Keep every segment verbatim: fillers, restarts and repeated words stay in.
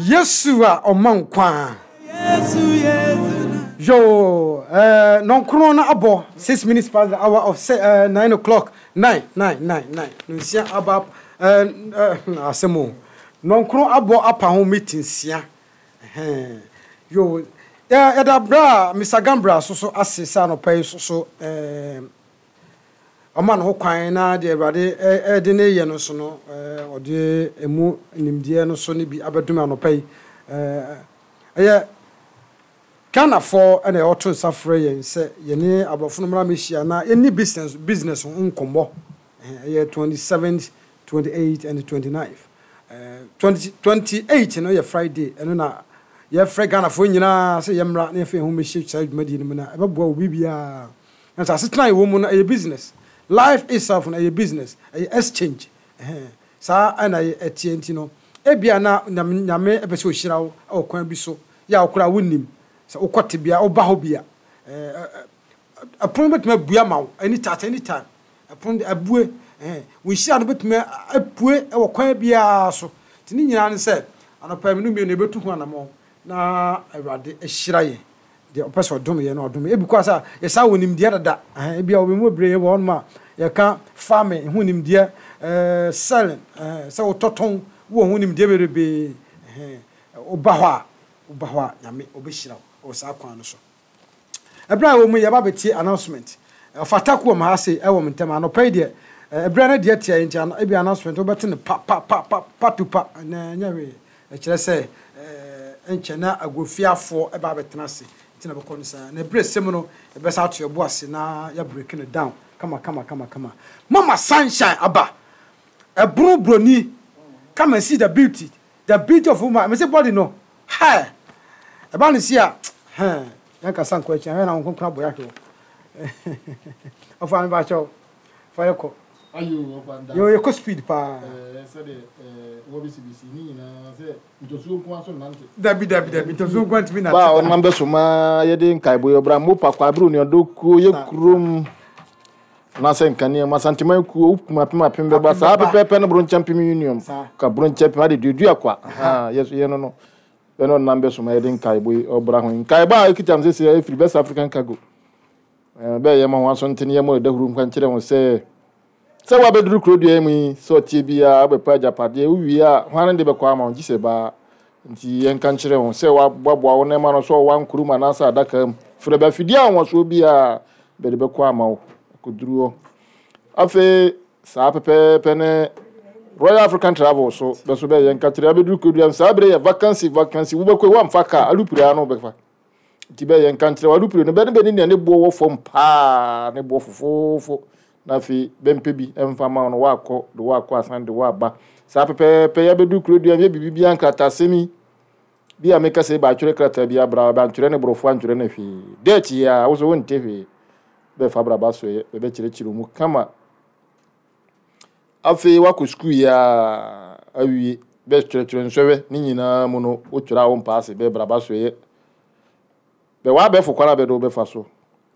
Yesu a ɔma nkwa. Yo, uh, nɔnkron no abɔ six minutes past the hour of se, uh, nine o'clock. Nine, nine, nine, nine. Nsia aba uh, uh, asɛm o. Nɔnkron abɔ apa ho meeting nsia. Ɛhɛn. Yo, yɛda bra Mister Gambra so so ase sɛ anɔpa yi so so eh, ɔma ne ho kwan na deɛ Awurade ɛde ne yɛ no so no, ɔde emu nimdeɛ no so ne bi abɛdom anɔpa yi. Ɛyɛ Ghanafoɔ ɛna ɛwɔto nsa frɛ yɛn sɛ yɛne aborɔfo no mmara mehyia na yɛni business business ho nkɔmmɔ. Ɛyɛ twenty seventh, twenty eight and twenty nine. twenty twenty eight no yɛ Friday. Ɛno na yɛfrɛ Ghanafoɔ nyinaa sɛ yɛmmra na yɛfa yɛn ho mmɛhyia saa dwumadie no mu na ɛbɛboa wo biribiara. Na sɛ asetena a yɛwɔ mu no, ɛyɛ business. Life itself no, ɛyɛ business, ɛyɛ exchange. Saa ɛna ɛteɛ. Nti no ebia na Nyame Nyame ɛpɛ sɛ ɔhyira wo ɛwɔ kwan bi so yɛ a wokora wonnim sɛ wokɔ tebea woba hɔ bi a, ɛpono bɛtumi abue ama wo anytime, at any time. Ɛpono abue, wo nhyira no bɛtumi apue ɛwɔ kwan biara so. Nti ne nyinaa ne sɛ anɔpa mi no mmienu yɛbɛtu ho anammɔn na Awurade ahyira yɛn. Deɛ ɔpɛ sɛ ɔdom yɛn no, ɔdom yɛn. Ebi kɔ sɛ yɛsa wɔ nimdeɛ dada. Ebi a wɔn mu bebree wɔ hɔnom a yɛka farming ho nimdeɛ, ɛɛ selling, ɛɛ sɛ wotɔtɔn wɔ ho nimdeɛ bebree. Ɛhɛn, woba hɔ a woba hɔ a Nyame ɔbɛhyira wo wɔ saa kwan no so. Ɛberɛ a wɔ mu, yɛba bɛtie announcement. Ɔfata ko wɔ ma ha se ɛwɔ m ntɛm anɔpa yi deɛ, ɛberɛ no deɛ tia nti ebi announcement wobɛte no pa pa pa pa pa to pa na ɛnyɛ hwee. Ɛkyerɛ sɛ ɛɛ nkyɛn na agofiafoɔ ɛba abɛtena ase nti na bɛkɔ no saa na ɛberɛ sɛm no yɛbɛsa ato yɛbo ase na yɛabreak no down kama kama kama kama. Mama Sunshine aba ɛbono broni. Come and see the beauty the beauty of woman. Mese body no hɛ ɛba ne si a hɛn yɛn kasa nkɔ akyi ahwɛ na wɔn nkonkron abɔ yɛahwɛ wɔ ɔfa mi ba kyɛw fa yɛ kɔ. Ayo, ɔfa nda. Yɛ yɛ kɔ speed paa. Ɛɛ sɛdeɛ ɛɛ wɔbisibisi ne nyinaa sɛ ntɔsuo nko aso nante. Dabi dabi dabi, ntɔsuo nko ntumi nante. Ba a ɔnam bɛ so maa yɛde nkaebɔ yɛ ɔbra mo pa kwabere onuadɔ kuo yɛ kurom anaasɛ nkanea mu Asanteman kuo wokum apem apem bɛba saa pɛpɛɛpɛ no Bronkyɛ Mpem Union ka Bronkyɛ Mpem ade duadua kwa yɛ so yɛ no no bɛne ɔnam bɛ so ma yɛde nkaebɔ yi ɔbra ho nkaebɔ a ɛkita m sɛ ɛfiri Best African Cargo bɛyɛ ma ho aso ntene yɛ ma ɛda huru nkwa nkyerɛ ho sɛ sɛ woabɛduru kuro dua mu yi sɛ ɔteɛ biara wobɛpɛ agyapadeɛ wowie a hwane de bɛkɔ ama wo gye sɛ baa. Nti yɛnka nkyerɛ ho sɛ woaboaboa wo nneɛma no sɛ ɔwa nkurom anaasɛ adaka mu frɛ bɛ afidie a wɔsoɔ biara bɛde bɛkɔ ama wo akɔduru hɔ. Afei saa pɛpɛɛpɛ ne Royal African Travel so bɛ so bɛyɛ nka kyerɛ abɛduru kuro dua mu saa berɛ yɛ vacancy vacancy wobɛkɔ woamfa kaa alupere ano wobɛfa. Nti bɛyɛ nka nkyerɛ alupere no bɛne bɛne nea ne boɔ wɔ fam paa, ne boɔ fofoofo, na afei bɛmpɛ bi ɛmfa ma wo no woakɔ de woakɔ asan de woaba. Saa pɛpɛɛpɛ yɛbɛduru kuro dua mu yɛ biribi bia nkratasɛm yi bi a meka sɛ baatwerɛ krataa bi abra bantwerɛ ne borɔfo antwerɛ ne hwee dɛɛkyi yi a wo so wonte hwee bɛfa braba so yɛ bɛbɛkyerɛkyerɛ mu kama. Afei wakɔ sukuu yi a awie bɛtwerɛtwerɛ nsɔhwɛ ne nyinaa mu no wotwerɛ a wo mpa ase bɛbraba so yɛ bɛwɔ abɛɛfo kwan a bɛde wobɛfa so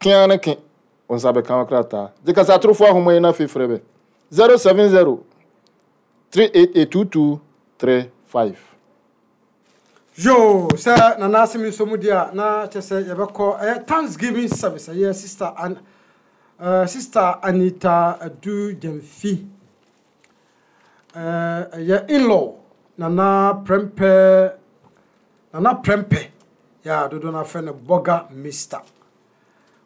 kea ne ke wo nsa bɛka wo krataa gye kasa atorofoɔ ahoma yi no. Afei frɛ bɛ zero seven zero three eight eight two two three five. Yo, sɛ Nana asɛm nso mu deɛ a na kyerɛ sɛ yɛbɛkɔ ɛyɛ thanksgiving service. Ɛyɛ sister An uh, sister Anita Adu Gyamfi, ɛyɛ uh, in-law Nana Prɛmpɛ, Nana Prɛmpɛ yɛ a dodoɔ no afrɛ no Bɔga Mister.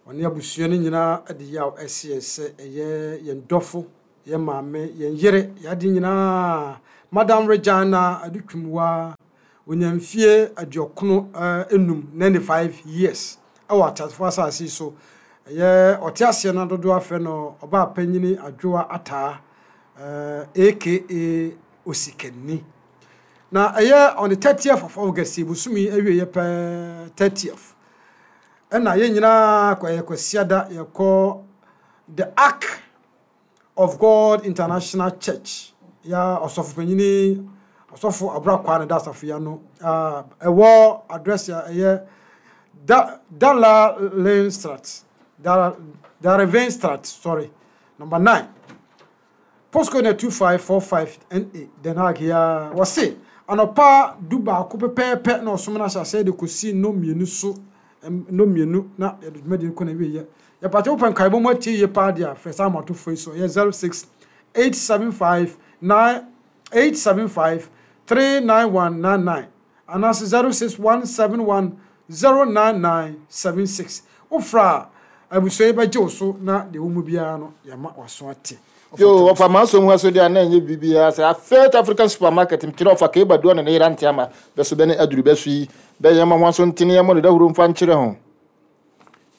Ɔne abusua no nyinaa de yaw ɛsi yɛn sɛ ɛyɛ yɛn dɔfo, yɛn maame, yɛn yere, yɛade nyinaa, Madam Regina Adutwumwa, onya mfie aduɔkono enum, ninety five years, ɛwɔ ateasefoɔ asase yi so. Ɛyɛ ɔte aseɛ no dodoɔ afrɛ no ɔbaa panyini Adwoa Ataa, aka Osikani. Na ɛyɛ on the thirtieth of August, bosome awie yɛ pɛɛ, thirtieth, ɛna yɛn nyinaa kɔ ɛyɛ Kwasiada yɛkɔ The Ark of God International Church ya ɔsɔfo panyini Ɔsɔfo Aburakwa ne da asafo ya no ɛwɔ address a ɛyɛ da Dala Lane Strat Darevenstraat, sorry, number nine, postcode na two five four five N A, Den Haag. Ya wɔse Anɔpa du baako pɛpɛɛpɛ na ɔsom no ahyɛ aseɛ de kɔsi nnɔn mmienu so, nnɔn mmienu na yɛde dwumadie no kɔ n'awieeɛ. Yɛpakyɛ wopɛ nkaebɔ mu atie yie paa deɛ a, frɛ saa ahomatorofoɔ yi so. Ɛyɛ zero six eight seven five nine eight seven five three nine one nine nine anaasɛ zero six one seven one zero nine nine seven six. Wofrɛ a, abusua yi bɛgye wo so na deɛ ɛwɔ mu biara no yɛama w'aso ate. Yo, ɔfa m'aso mu ha so deɛ a na ɛnyɛ biribiara sɛ Afet African Supermarket mekyerɛ ɔfa Keba Duo ne ne yere Auntie Ama bɛso bɛne aduru bɛso yi bɛyɛ ma ho aso ntene yɛ mmɔ ne dahuro mfa nkyerɛ ho.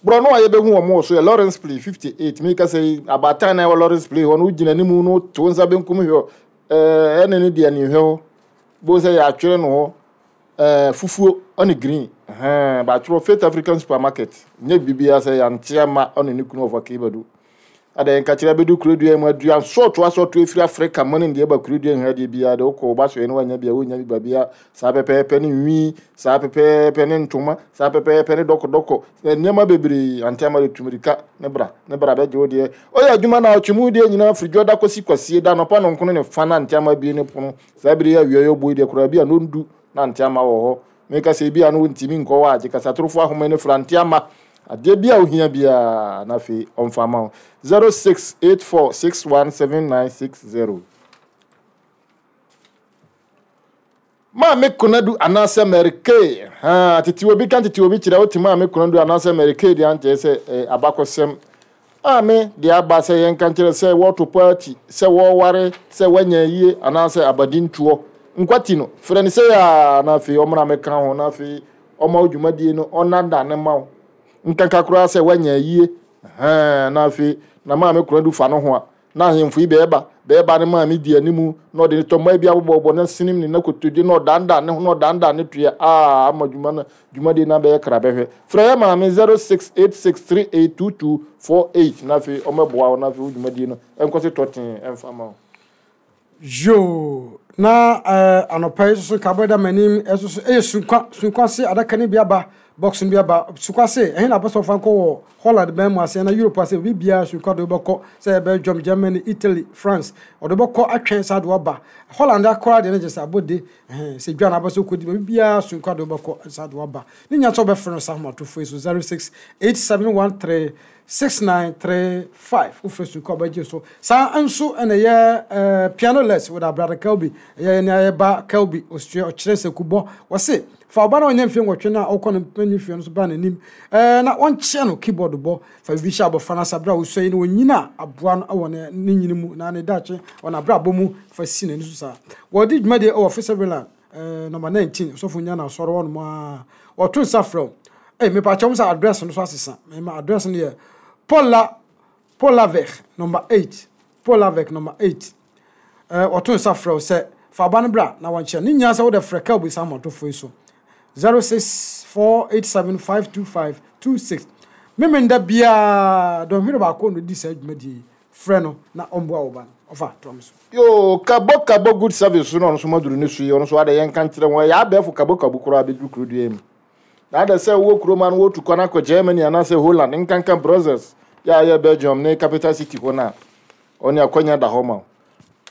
Borɔno a yɛbɛhu wɔn wɔ so yɛ Lawrence Play fifty eight meka sɛ yi abaatan na ɛwɔ Lawrence Play hɔ no wogyina anim no to wo nsa benkum hwɛ ɛɛ ɛne ne deɛ ne hwɛ hɔ bo sɛ yɛatwerɛ no hɔ ɛɛ fufuo ɔne green ɛhɛn baatwerɛ Faith African Supermarket nyɛ biribiara sɛ yɛante ama ɔne ne kunu ɔfa Keba Duo. Adɛn nkakyerɛ bɛdu kurodua mu aduan sɔɔto asɔɔto efiri Afrika mu ne deɛ ɛba kurodua nhwɛ adeɛ biara de wokɔ wo ba soɛ no wanya bia wonya bi babia saa pɛpɛɛpɛ ne nwi saa pɛpɛɛpɛ ne ntoma saa pɛpɛɛpɛ ne dɔkɔdɔkɔ nneɛma bebree ante ama de tumirika ne bra ne bra bɛgye wo deɛ ɔyɛ adwuma na ɔtwe mu deɛ nyinaa firi dwoda kɔsi kwasie da anɔpa nɔnkono ne fa na ante ama bie ne pono saa bere yi awia yɛ ɔbɔ yi deɛ koraa bi a nondu na ante ama wɔ hɔ meka sɛ ebi a no wontimi nkɔ hɔ a gye kasatorofo ahoma ne fra ante ama adeɛ bi a ohia biara na afei ɔmfa ma wo zero six eight four six one seven nine six zero. Maame Konadu anaasɛ Mary Kay ha tete obi ka tete obi kyerɛ wote Maame Konadu anaasɛ Mary Kay deɛ ankyerɛ sɛ eh, abakɔsɛm maame deɛ aba sɛ yɛnka nkyerɛ sɛ wɔto paati sɛ wɔware sɛ wɔanya yie anaasɛ abadintoɔ nkwati no frɛ no sɛ yaa na afei ɔmmra mɛka ho na afei ɔma wo dwumadie no ɔnada ne ma wo nkanka koraa sɛ woanya yie hɛn na afei na maame Konadu fa no ho a na ahemfo yi bɛɛba bɛɛba ne maame di animu na ɔde ne tɔmma bi abobɔbɔ na sinim ne nakotodwe na ɔdandan ne ho na ɔdandan ne toɛ a ama dwuma no dwumadie no abɛyɛ kra bɛhwɛ frɛ yɛ maame zero six eight six three eight two two four eight na afei ɔmmɛboa wo na afei wo dwumadie no ɛnkɔ so tɔtee ɛmfa ma wo. Yoo, na eh, anɔpa yi soso nka da m'anim ɛso so ɛyɛ sunkwa sunkwa se adaka no bi aba box no bi aba sunkwa se ɛhe na apɛ sɛ ɔfa nkɔ wɔ Holland bɛn mu ase na Europe ase obi biara sunkwa de wobɛkɔ sɛ Belgium, Germany, Italy, France ɔde wobɛkɔ atwɛn saa de waba Holland akora deɛ no gye sɛ abɔde ɛhɛn sɛ dwa na abɛ sɛ wokɔdi baabi biara sunkwa de wobɛkɔ saa de waba ne nya sɛ wobɛfrɛ no saa ahomatorofoɔ yi so zero six eight seven one three six nine three five wofrɛ sunkwa wobɛgye so saa nso ɛna ɛyɛ eh, piano les with abrada Kelby ɛyɛ ne ayɛba Kelby osua ɔkyerɛ nsɛkubɔ wɔse fa ɔba na ɔnyɛ mfie nwɔtwe no a ɔkɔ no mpanyin fie no so ba n'anim ɛɛ na ɔnkyerɛ no keyboard bɔ fa biribi hyɛ abɔfra no asa berɛ a ɔsua yi no ɔnyina a aboa no wɔ ne ne nyini mu na ne daakye wɔ n'abrabɔ mu fa si n'ani so saa wɔde dwumadie ɛwɔ Fisherland ɛɛ number nineteen ɔsɔfo nya na asɔre hɔ nom a wɔto nsa frɛ wo ɛy mepakyɛw sɛ address no so asesa mɛma address no yɛ Paula Polavec number eight Polavec number eight ɛɛ wɔto nsa frɛ wo sɛ fa aba no bra na wɔnkyerɛ ne nyinaa sɛ wode frɛ Kelby saa ahomatorofoɔ yi so zero six four eight seven five two five two six memenda biara dɔnhwere baako na odi saa dwumadie yi frɛ no na ɔmboa wo ba no ɔfa toa so. Yo, kabo kabo good service so na ɔno nso maduru ne so yi ɔno nso ada yɛnka nkyerɛ wɔn ɛyɛ abɛɛfo kabo kabo koraa bɛduru kurodua mu na ada sɛ wowɔ kurom a no wɔtu kwan akɔ Germany anaasɛ Holland nkanka Brussels yɛ a yɛ Belgium ne capital city hɔ no a ɔne akwanya da hɔ ma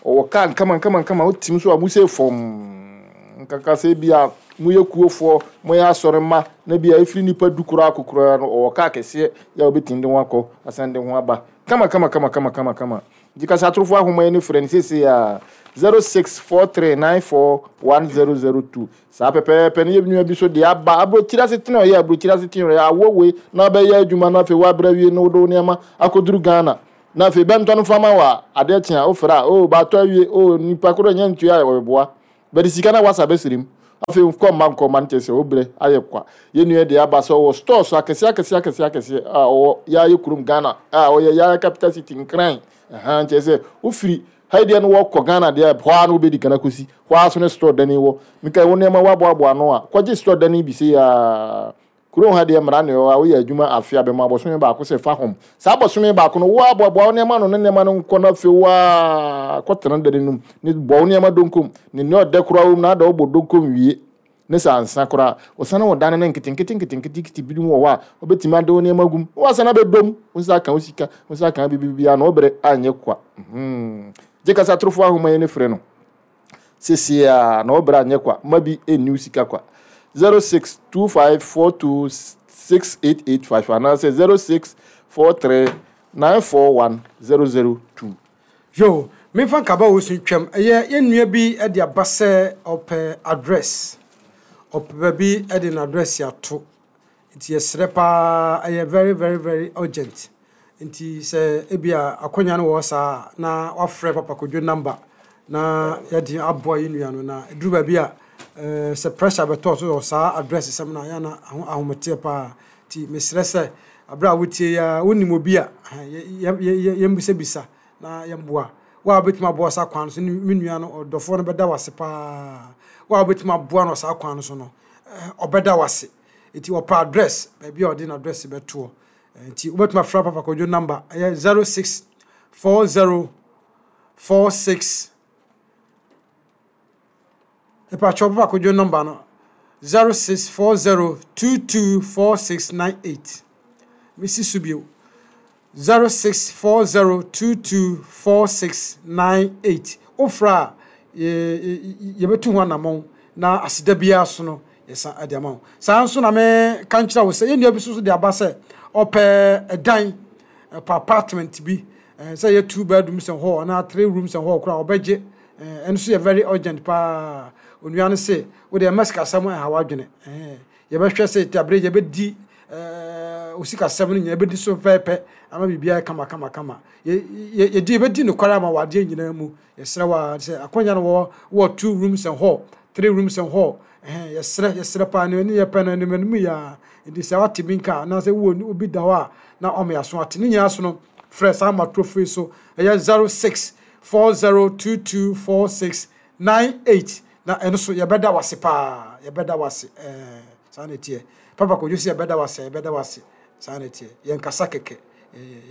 wo ɔwɔ kaa nkama nkama nkama wotim so a mo sɛ fam nkaka sɛ bi a moyɛ kuofoɔ moyɛ asɔre mma na bi a ɛfiri nnipa du koraa akɔ koraa no ɔwɔ kaa kɛseɛ yɛ a wobɛtumi de ho akɔ asan de ho aba kama kama kama kama kama kama nti kasa atorofoɔ ahoma yi ne frɛ no seesei a zero six four three nine four one zero zero two saa pɛpɛɛpɛ no yɛ nua bi so deɛ aba aburokyiri ase tena ɔyɛ aburokyiri ase tena ɔyɛ awɔ wei na abɛyɛ adwuma na afei wabrɛ wie na wode wo nneɛma akɔduru Ghana na afei bɛntɔ no fama wɔ a adeɛ kye a wofrɛ a o baatɔ awie o nipa koro nyɛ ntua a ɔbɛboa bɛde sika na wasa bɛsirim afei nkɔ mma nkɔ mma no kyerɛ sɛ wobrɛ ayɛ kwa yɛn nua deɛ aba sɛ ɔwɔ stores akɛseɛ akɛseɛ akɛseɛ akɛseɛ a ɔwɔ yɛayɛ kurom Ghana a ɔyɛ yɛayɛ capital city Nkran ɛhan kyerɛ sɛ wofiri ha yi deɛ no wɔkɔ Ghana deɛ hɔ ara no wobɛdi kan akɔsi hɔ ara so ne store dani wɔ meka wo nneɛma woaboaboa ano a kɔgye store dani bi sɛ yaa kurom ha deɛ mmara ne hɔ a woyɛ adwuma afe a bɛma abɔsome baako sɛ fa hom saa abɔsome baako no woaboaboa wo nneɛma no ne nneɛma no nkɔ no afei woa kɔtena dani no mu ne bɔ wo nneɛma donkom ne nea ɔdɛ koraa wɔ mu na ada wobɔ donkom wie ne sɛ ansa koraa ɔsane wɔ dan no nketenkete nketenkete bi mu wɔ hɔ a wobɛtumi ade wo nneɛma gum na wasane abɛdom wo nsa aka wo sika wo nsa aka biribiara na wobrɛ anyɛ kwa. Gye kasa atorofoɔ ahoma yi ne frɛ no Seesei ara na wo bra nyɛ kwa, mma bi nni wo sika kwa. zero six two five four two six eight eight five anaasɛ zero six four three nine four one zero zero two. Yo, memfa nkaba wo so ntwam. Ɛyɛ yɛn nua bi de aba sɛ ɔpɛ address. Ɔpɛ baabi de n'address ato. Nti yɛsrɛ paa, ɛyɛ very very very urgent. Nti sɛ ebia akonnwa no wɔ hɔ saa a, na wafrɛ Papa Kojo number na yɛde aboa yɛn nua no. Na ɛduru baabi a eh, sɛ pressure bɛtɔ so wɔ saa address sɛm no a, yɛ na ahometeɛ paa. Nti mesrɛ sɛ aberɛ a wotie yi a, wonim obi a, yɛmbisabisa na yɛmboa. Wo a wobɛtumi aboa saa kwan no so, me nua no, ɔdɔfoɔ no bɛda wo ase paa. Wo a wobɛtumi aboa no saa kwan no so no, ɔbɛda wo ase. Nti ɔpɛ address, baabi a ɔde n'address bɛtoɔ. Nti wobɛtumi afrɛ Papa Kojo number, ɛyɛ zero six four zero four six. Mepakyɛw, Papa Kojo number no zero six four zero two two four six nine eight. Mesi so bio, zero six four zero two two four six nine eight. Wofrɛ a, yɛbɛtu ho anammɔn na aseda biara so no yɛsa de ama wo. Saa nso na meka nkyerɛ wo sɛ yɛn nua bi nso de aba sɛ ɔpɛ ɛdan, ɛpɛ apartment bi, sɛ yɛ two bedrooms and hall anaa three rooms and hall koraa ɔbɛgye. Ɛno nso yɛ very urgent paa. Onua no se wode ɛma sikasɛm ɛha w'adwene, yɛbɛhwɛ sɛ abere yɛbɛdi osikasɛm no nyinaa yɛbɛdi so pɛpɛɛpɛ ama biribiara kama kama kama. Yɛdi yɛbɛdi nokware ama wɔ adeɛ nyinaa mu. Yɛsrɛ wa sɛ akonnwa no wɔ wɔ two rooms and hall, three rooms and hall, yɛsrɛ yɛsrɛ paa ne yɛpɛ no anim anim yɛ a. Nti sɛ wate bi nka anaasɛ wowɔ obi da hɔ a na ɔmo yɛ ate ne nyinaa so no, frɛ saa matorofo yi so, ɛyɛ zero six four zero two two four six nine eight, na ɛno so yɛbɛda wase paa, yɛbɛda wase. Ɛɛ saa na ɛteɛ. Papa Kojo sɛ yɛbɛda wase, yɛbɛda wase. Saa na ɛteɛ. Yɛn kasa kɛkɛ,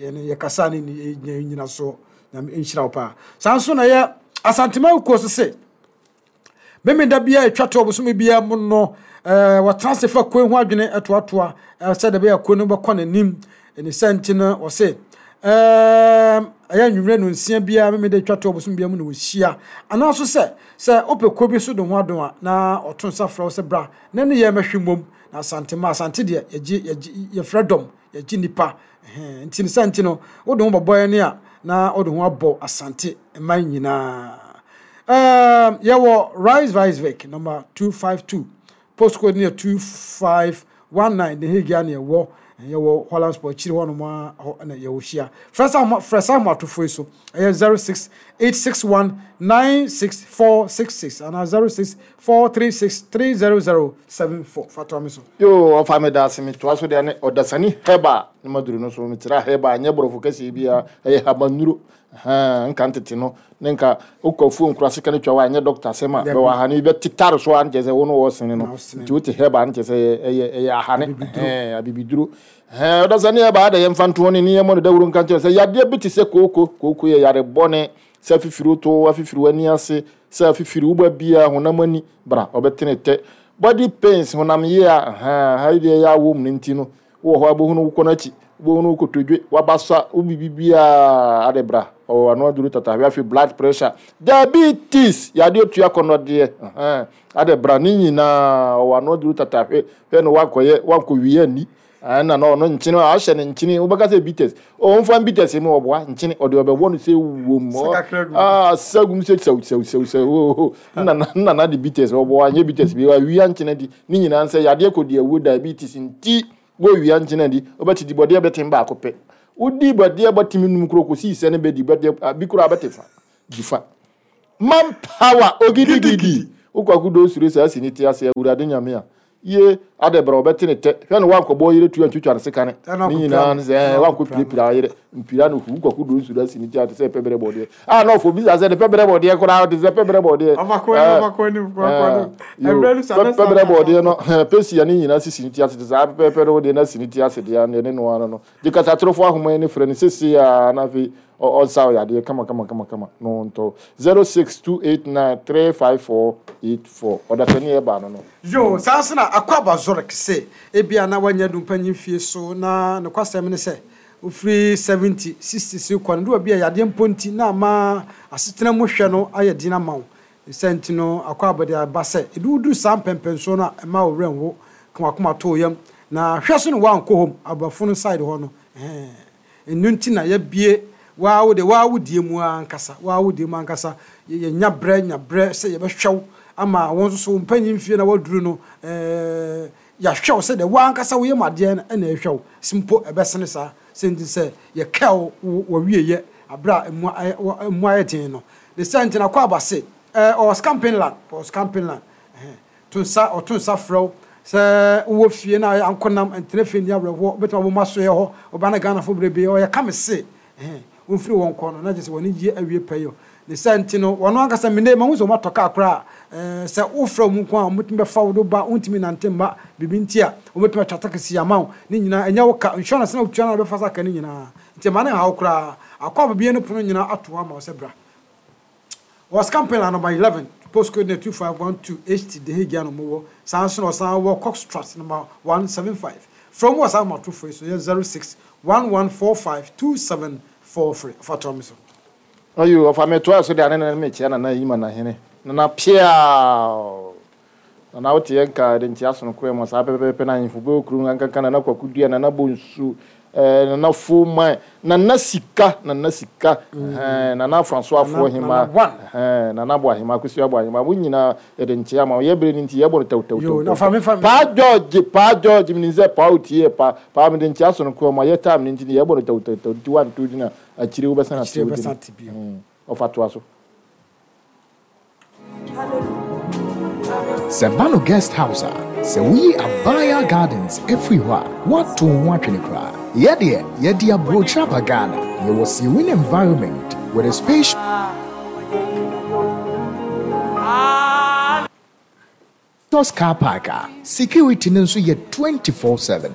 yɛn yɛkasa ne nyina soɔ. Nyame nhyira wo paa. Saa nso na yɛ Asantema kuo so se memeda bia atwa to ɔbosome bia mu no, ɛɛ wɔtena ase fa kuo ho adwene ɛtoatoa sɛdeɛ ɛbɛyɛ kuo no bɛkɔ n'anim. Ɛne sɛ nti no wɔse ɛɛ ɛyɛ nnwummerɛ no nsia biara memeda atwa to ɔbosome bia mu na wɔhyia, anaa so sɛ sɛ wopɛ kuo bi so de ho adon a, na ɔto nsa frɛ wo sɛ bra na ne yɛ mɛhwe mmom. Na Asantema, Asante deɛ yɛgye yɛgye yɛfrɛ dɔm, yɛgye nipa. Nti ne sɛ nti no wode ho bɔbɔ yɛn a, na wode ho abɔ Asante mman nyinaa. Um, yɛwɔ Rice Vice number two five two, postcode no yɛ two five one nine, ne Hague ne yɛwɔ yɛwɔ Holland Sport akyiri hɔ nom a hɔ na yɛwɔ hyia. Frɛ sa frɛ sa ahomatofo yi so, ɛyɛ zero six eight six one nine six four six six anaa zero six four three six three zero zero seven four. Fatoa mi so. Yo, ɔfa me da ase. Metoa so deɛ ne ɔdasani hɛba ne maduro no so. Mekyerɛ hɛba, nyɛ borɔfo kɛseɛ biara, ɛyɛ habanuro. Nka ntete no ne nka wokɔ afuo nkura sika no twa wa, ɛnyɛ doctor asɛm a bɛwɔ ahane bi bɛtetare so a, nkyɛ sɛ wo no wɔ sene no. Nti wote hɛba, nkyɛ sɛ ɛyɛ ɛyɛ ahane abibiduro. Ɔdasani hɛba ada, yɛmfa ntoɔ ne ne yɛmmɔ no dawuro nka nkyerɛ sɛ yadeɛ bi te sɛ kooko. Kooko yɛ yare bɔne sɛ afifiri to afifiri w'ani ase, sɛ afifiri woba bia honam ani bra, ɔbɛtene tɛ body pains, honam yie a ha yi deɛ yɛ awɔ mu no. Nti no wowɔ hɔ abɔhunu wokɔ n'akyi, wobɛhunu wo kotodwe wabasa wo biribi biaa ade bra, ɔwɔ ano aduru tatahwe. Afei blood pressure, diabetes, yadeɛ tua kɔnɔdeɛ ade bra, ne nyinaa ɔwɔ ano aduru tatahwe. Hwɛ no wankɔyɛ wankɔwie ani ɛna na ɔno nkyene a ahyɛ ne nkyene, wobɛka sɛ bitters, ɔmfa bitters mu, ɔboa nkyene ɔde ɔbɛwɔ no sɛ wom sagum sɛ sɛw sɛw sɛw sɛw. Nna de bitters ɔboa, nyɛ bitters bi awia nkyene di ne nyinaa sɛ yadeɛ kɔdi awuo. Diabetes nti wɔwia nkyene di, wobɛte di bɔdeɛ bɛtem baako pɛ, wodi bɔdeɛ bɔtemi num kuro kɔsii sɛ ne bɛdi bɔdeɛ bi koraa bɛte fa di fa. Man power ogidigidi, wokɔ akodo osuro sɛ asi ne ti ase. Awurade Nyame a ye ade brɛ, ɔbɛte ne tɛ. Hwɛ no wankɔbɔ yere tu antwitwa ne sekane ne nyinaa ne sɛ wankɔ pirapira yere mpira no hu. Wokɔ akodo osuro asi ne ti ate sɛ pɛbrɛ bɔdeɛ a na ɔfɔ bisa sɛ ne pɛbrɛ bɔdeɛ koraa te sɛ pɛbrɛ bɔdeɛ, pɛbrɛ bɔdeɛ no pɛsia ne nyinaa sisi ne ti ase te saa pɛpɛpɛ no wodeɛ no asi ne ti ase deɛ ne noa no no gye kasatorofo ahoma yi ne frɛ no sese a, na afei ɔnsa ɔyadeɛ kama kama kama kama no ntɔ zero six two eight nine three five four eight four. Ɔdasani ɛba no no. Yo, saa nso na akɔ aba Zurich sɛ ebia na wanya du mpanyin fie so, na nokwasɛm ne sɛ wofiri seventy sixty so kɔ no de bi a yadeɛ mpo nti na ama asetena mu hwɛ no ayɛ den ama wo. Sɛ nti no akɔ abɔde aba sɛ ebi wodu saa mpɛmpɛnsoɔ no a, ɛma wo werɛ nwo ka wakoma to yam na hwɛ so no woankɔ hɔ aborɔfo no side hɔ no. Ɛhɛn, ɛno nti na yɛbie waa wo de waa wo die mu ankasa, waa wo die mu ankasa. Yɛnya brɛ nya brɛ sɛ yɛbɛhwɛ wo ama wɔn nso so wo mpanyin fie na waduru no, ɛɛ yɛahwɛ wo sɛ deɛ waa ankasa woyɛ mu adeɛ no ɛna ɛhwɛ wo simpo ɛbɛsene saa. Sɛ nti sɛ yɛkɛ wo wɔwieyɛ aberɛ a emu ayɛ emu ayɛ den no de sɛ nti na kɔ aba se ɛɛ ɔwɔ Scampinland, ɔwɔ Scampinland. Ɛhɛn, to nsa, ɔto nsa frɛ wo sɛ wowɔ fie na ankonam ntena fie ni awerɛhoɔ, wobɛtumi abɔ mu asoɛ hɔ ɔba na Ghanafoɔ bebrebe ɔyɛ ka me se ɛhɛn womfiri wɔn kɔ no na gye sɛ wɔne gye awie pɛyɛ ne sɛ nti no wɔno ankasa mene mahu sɛ wɔmatɔ kaa koraa. ɛɛ sɛ wofrɛ mu nko a, wɔbɛtumi bɛfa wo do ba. Wontumi nante mma biribi nti a, wɔbɛtumi atwa taxi ama wo. Ne nyinaa ɛnyɛ wo ka, insurance na wotua na bɛfa sa ka ne nyinaa nti ɛma ne haw koraa. Akɔ ababie no pono nyinaa ato hɔ ama wo sɛ bra. Wɔ Scampinland number eleven, postcode ne two five one two H T, The Hague ano mowɔ saa nso na ɔsan wɔ Cockstrat number one seven five. Frɛ mu wɔ saa ahomatorofoɔ yi so yɛ zero six one one four five two seven four three. Ɔfa toa mi so. Ayo, ɔfa metoa so de ane ne mekyia Nana Yima na hene Nana Pia Nana wote yɛn ka de nkyia sonoko mu saa pɛpɛpɛ na ahemfo bɛwɔ kurom ankanka Nana Kwaku Dua, Nana Bonsu, ɛɛ Nana Foman, Nana Sika, Nana Sika, ɛɛ Nana Francois Nana- Hema. Nana One. Ɛɛ Nana Bo Ahema, Akosua Bo Ahema, mo nyinaa yɛde nkyia ma yɛ bere ne nti yɛbɔ no tɛwtɛw. Yo, na fa me fa me. Paa George, Paa George, mi sɛ paa otie pa paa mi de nkyia sonoko mu yɛ time ne nti yɛbɔ no tɛwtɛw nti one two gyina akyire wobɛsan ate. Akyire wo wobɛsan gyina. ate bio. Mm, ɔfa toa so. Sɛ ba no guest house a, sɛ woyi Abaya Gardens afiri hɔ a, woato wo ho atwene koraa. Yɛdeɛ yɛde aburokyire aba Ghana. Yɛwɔ serene environment with a spacious car park a security no nso yɛ twenty-four seven.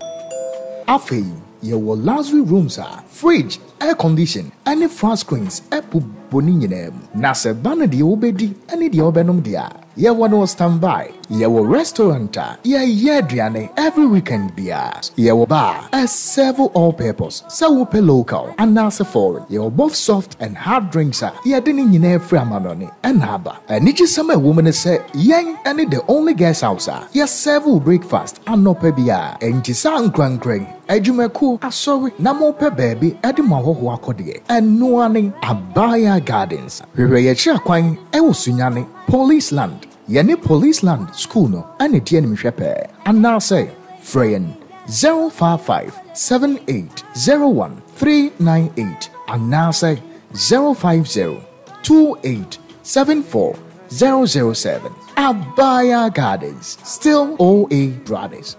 Afei yɛwɔ luxury rooms a fridge, air condition ɛne flat screens ɛbobɔ ne nyinaa mu. Na sɛ ba no deɛ wobɛdi ɛne deɛ wobɛnom deɛ a, yɛwɔ no standby. Yɛwɔ restaurant a yɛyɛ aduane every weekend biara. Yɛwɔ bar a serve all purpose, sɛ wopɛ local anaasɛ foreign. Yɛwɔ both soft and hard drinks a yɛde ne nyinaa firi amanɔne ɛna aba. Anigyesɛm a ɛwɔ mu ne sɛ yɛn ɛne the only guest house a yɛserve wo breakfast anɔpa biara. Enti saa nkrankran adwumakuo, asɔre na mopɛ baabi ɛde mo ahɔhoɔ akɔdeɛ, ɛnoa ne Abaya Gardens. Hwehwɛ yɛkyerɛ kwan ɛwɔ Sunyane Police Land, yɛne Police Land School no ɛne di animhwɛ pɛɛ, anaasɛ frɛ yɛn zero five five seven eight zero one three nine eight anaasɛ zero five zero two eight seven four zero zero seven. Abaya Gardens, still O A Brothers.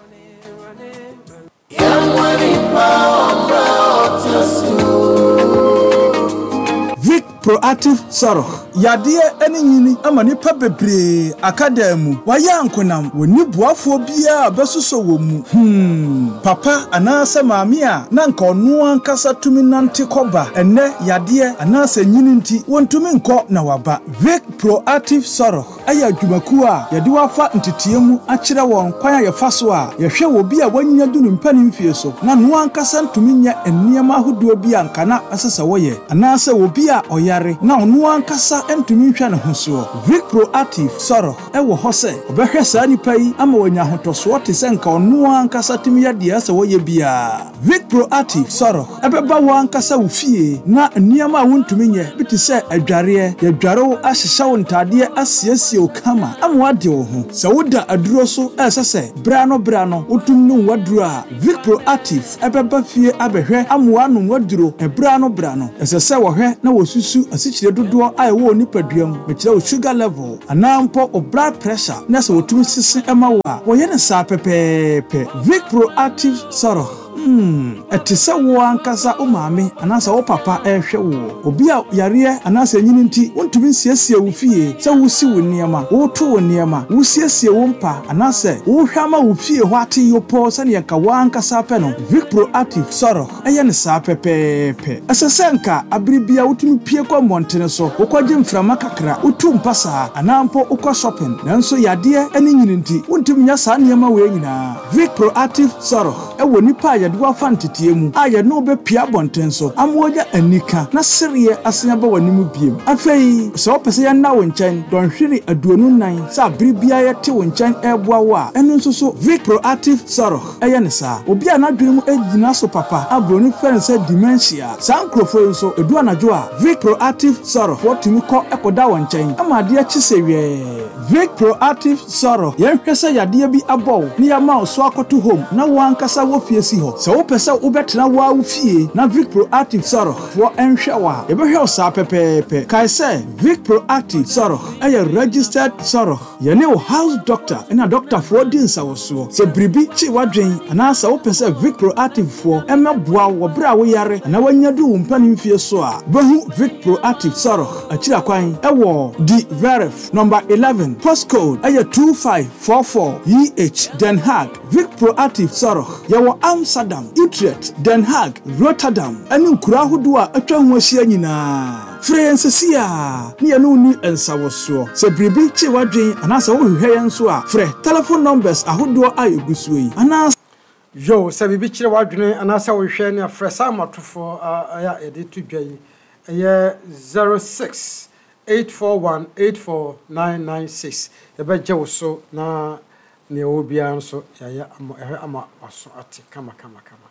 Vic Proactive Sɔrɔ yadeɛ ne nyini ama nnipa bebree aka dan mu wɔayɛ ankonam, wɔnni boafoɔ biara a bɛsosɔ wɔ mu. hmm papa anaasɛ maame a na nka ɔno ankasa tumi nante kɔba, ɛnnɛ yadeɛ anaasɛ nyini nti wɔntumi nkɔ na waba. Vic Proactive Sɔrɔ ɛyɛ adwumakuo a yɛde wafa nteteɛ mu akyerɛ wɔn kwan a yɛfa so a yɛhwɛ wɔ bi a wanya du ne mpanin mfie so na noa ankasa ntumi nyɛ nneɛma ahodoɔ bi a nka na ɛsɛ sɛ wɔyɛ, anaasɛ obi a ɔyare na ɔno ankasa ntumi nhwɛ ne ho soɔ. Vic Proactive Sɔrɔ ɛwɔ hɔ sɛ ɔbɛhwɛ saa nipa yi ama wanya ahotɔsoɔ te sɛ nka ɔno ankasa tumi yɛ deɛ ɛsɛ wɔyɛ biara. Vic Proactive Sɔrɔ ɛbɛba wo ankasa wo fie na nneɛma a wontumi nyɛ bi te sɛ adwareɛ, yɛdware wo, ahyehyɛ wo ntadeɛ, asiesie wo kama ama woade wo ho. Sɛ woda aduro so ɛsɛ sɛ bra no bra no wotum nom waduro a, Vic Proactive ɛbɛba fie abɛhwɛ ama woanom waduro ɛbra no bra no. Ɛsɛ sɛ wɔhwɛ na wɔsusu asikyire dodoɔ a ɛwɔ wo nipadua mu, mekyerɛ wo sugar level anaa mpo wo blood pressure, na sɛ wɔtumi sese ɛma wo a, wɔyɛ no saa pɛpɛɛpɛ. Vic Proactive Sɔrɔ Hmm, ɛte sɛ wo ankasa wo maame anaasɛ wo papa ɛrehwɛ wo. Obi a yareɛ anaasɛ nyini nti wontumi nsiesie wo fie, sɛ wosi wo nneɛma, woto wo nneɛma, wosiesie wo mpa anaasɛ wohwɛ ama wo fie hɔ ate yopɔɔ sɛneɛ nka wo ankasa pɛ no, Vic Proactive Sɔrɔ ɛyɛ ne saa pɛpɛɛpɛ. Ɛsɛ sɛ nka abere bia wotumi pie kɔ mmɔntene so, wokɔgye mframa kakra, wotu mpa saa anaa mpo wokɔ shopping, nanso yadeɛ ne nyini nti wontumi nyɛ saa nneɛma wei nyinaa. Vic Proactive Sɔrɔ Ɛwɔ nipa a yɛde wafa nteteɛ mu a yɛne wo bɛpia abɔnten so ama wɔnya anika na sereɛ asen aba w'anim biem. Afei sɛ wopɛ sɛ yɛnna wo nkyɛn dɔnhwere aduonu nan sɛ abere biara yɛte wo nkyɛn ɛreboa wo a, ɛno nso so Vic Proactive Zorg ɛyɛ ne saa. Obi a n'adwene mu gyina so papa a buroni frɛ no sɛ dementia, saa nkurɔfoɔ yi nso, edu anadwo a, Vic Proactive Zorg wɔtumi kɔ ɛkɔda wɔn nkyɛn ama adeɛ kye sɛ wɛɛ. Vic Proactive Zorg, yɛnhwɛ sɛ yadeɛ bi abɔ wo ne yɛama wo so akɔto home na wɔn ankasa wɔ fie si hɔ. Sɛ wopɛ sɛ wobɛtena wo ara wo fie na Vic Proactive Zorg foɔ nhwɛ wo a, yɛbɛhwɛ wo saa pɛpɛɛpɛ. Kae sɛ Vic Proactive Zorg ɛyɛ registered Zorg. Yɛne wo house doctor ɛna doctorfoɔ di nsawɔsoɔ. Sɛ biribi kye w'adwen anaasɛ wopɛ sɛ Vic Proactive foɔ ɛmɛboa wo wɔ berɛ a woyare anaa woanya du wo mpanimfie so a, wobɛhu Vic Proactive Zorg akyiri akwan ɛwɔ De Werf number eleven, postcode ɛyɛ two five four four E H, Den Haag. Vic Proactive Zorg, yɛwɔ Amsterdam, Utrecht, Den Haag, Rotterdam ɛne nkuro ahodoɔ a atwa ho ahyia nyinaa. Frɛ yɛn sesi a ne yɛne wo ni nsawɔsoɔ. Sɛ biribi kye w'adwen anaasɛ wohwehwɛ yɛn nso a, frɛ telephone numbers ahodoɔ a ɛgu soɔ yi anaa Yo, sɛ biribi kyerɛ w'adwene anaasɛ wohwɛ ne afrɛ saa amatofoɔ a a yɛde to dwa yi, ɛyɛ zero six eight four one eight four nine nine six. Yɛbɛgye wo so na nea ɛwɔ biara nso yɛayɛ ama ɛhwɛ ama waso ate kama kama kama.